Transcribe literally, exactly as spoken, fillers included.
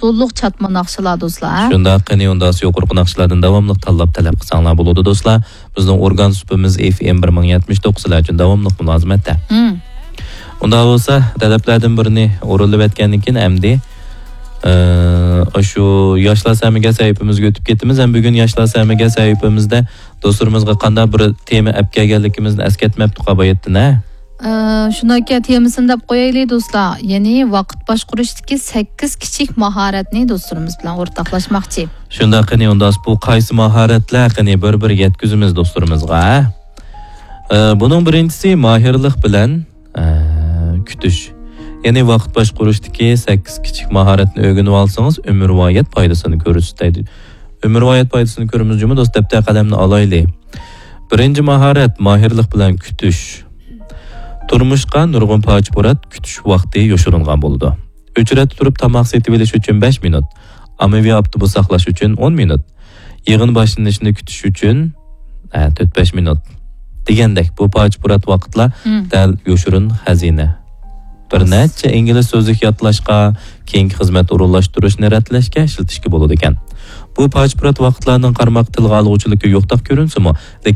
ئۇللۇق چاتما ناخشىلار، دوستلار، ھە؟ شۇنداق، قېنى ئۇنداق يۇقىرىقى ناخشىلاردىن داۋاملىق تاللاپ تەلەپ قىلساڭلار بولىدۇ، دوستلار. بىزنىڭ ئورگان سۇپىمىز ئېف ئېم بىر مىڭ يەتمىش توققۇز سىلەر ئۈچۈن داۋاملىق مۇلازىمەتتە. مم. ئۇنداق بولسا، تەلەپلەردىن بىرىنى ئورۇنلىۋەتكەندىن كېيىن ئەمدى، ئە، شۇ ياشلار سەمىگە سەھىپىمىزگە ئۆتۈپ كېتىمىز. ھەم بۈگۈن ياشلار سەمىگە سەھىپىمىزدە دوستلىرىمىزغا قانداق بىر تېما ئەپ كەلگەنلىكىمىزنى ئەسكەرتمەپتۇق باياتتىن، ھە؟ ئە، شۇنداكى تېمىسىنى دەپ قويايلى، دوستلار. يەنى ۋاقىت باشقۇرۇشتىكى سەككىز كىچىك ماھارەتنى دوستلىرىمىز بىلەن ئورتاقلاشماقچى. شۇنداق، قېنى ئۇنداق بۇ قايسى ماھارەتلەر؟ قېنى بىر-بىر يەتكۈزىمىز دوستلىرىمىزغا، ھە؟ ئە، بۇنىڭ بىرىنچىسى ماھىرلىق بىلەن، ئە، كۈتۈش. يەنى ۋاقىت باشقۇرۇشتىكى سەككىز كىچىك ماھارەتنى ئۆگىنىۋالسىڭىز، ئۆمۈرۋايەت پايدىسىنى كۆرىسىز دەيدۇ. ئۆمۈرۋايەت پايدىسىنى كۆرىمىز جۇمۇ دوست، دەپتەر قەلەمنى ئالايلى. بىرىنچى ماھارەت، ماھىرلىق بىلەن كۈتۈش. تۇرمۇشقا نۇرغۇن پاچە-پۇرات كۈتۈش ۋاقتى يوشۇرۇنغان بولىدۇ. ئۆچرەتتە تۇرۇپ تاماق سېتىۋېلىش ئۈچۈن بەش مىنۇت. ئاممىۋى ئاپتوبۇس ساقلاش ئۈچۈن ئون مىنۇت. يىغىن باشلىنىشىنى كۈتۈش ئۈچۈن، ئە، تۆت بەش مىنۇت. دېگەندەك، بۇ پاچە-پۇرات ۋاقىتلار مم. دەل يوشۇرۇن خەزىنە. بىر نەچچە ئىنگلىز سۆزلۈك يادلاشقا، كېيىنكى خىزمەت ئورۇنلاشتۇرۇشنى رەتلەشكە ئىشلىتىشكە بولىدىكەن. بۇ پاچە-پۇرات ۋاقىتلارنىڭ قارىماققا تىلغا ئالغۇچىلىكى يوقتەك كۆرۈنسىمۇ، لېكىن